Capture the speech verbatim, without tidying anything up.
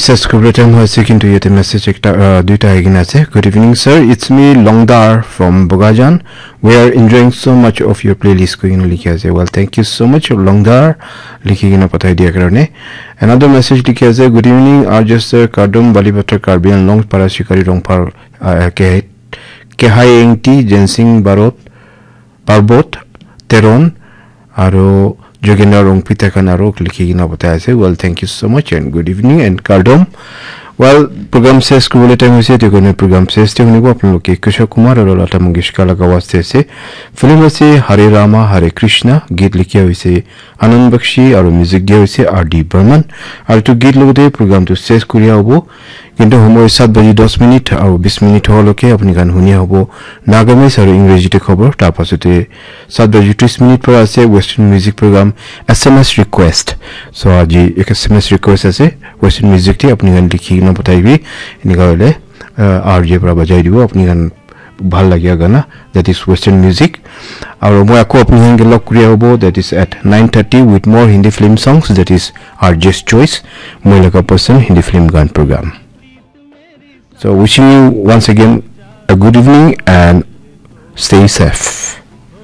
Just kubra time hoise, kintu yate message ekta, uh, duita ahi kena ase. "Good evening, sir. It's me, Longdar from Bogajan. We are enjoying so much of your playlist," koi kena likhi ase. Well, thank you so much, Longdar, likhi kena pathai dia karone. Another message likhi ase, "Good evening, R J sir, Kardom, Balipathar, Karbi Anglong, Parashikari, Rongphar, uh, K-, Kehai Engti, Jensing Barot, Parbot, Teron, aro Jogendra Rongpi, tai khan aro likhi kena pathai ase." Well, thank you so much and good evening and Kardom. Well, program ses kuribole time hoise, etu karone program ses te hunibo apnaloke Kishore Kumar aro Lata Mangeshkar laga awaaz te ase. Film ase Hare Rama Hare Krishna, geet likha hoise Anand Bakshi aro music dia hoise R D Burman. Aro etu geet logote program tu ses kuria hobo. Kintu homoi saat baji dos minute aro bis minute hoa loke apni khan hunia hobo Nagamese aro English te khobor. Tar pasote saat baji tris minute para ase Western music program S M S request. So aji ek S M S request ase Western music te apni khan likhi kena pathai bi. Enika hoile, uh, R J para bajai dibo apni khan bhal lagia gana, that is Western music. Aro moi ako apni khan ke log kuria hobo, that is at nine thirty with more Hindi film songs, that is R J's Choice, moi laga pasand Hindi film gaan program. So wishing you once again a good evening and stay safe.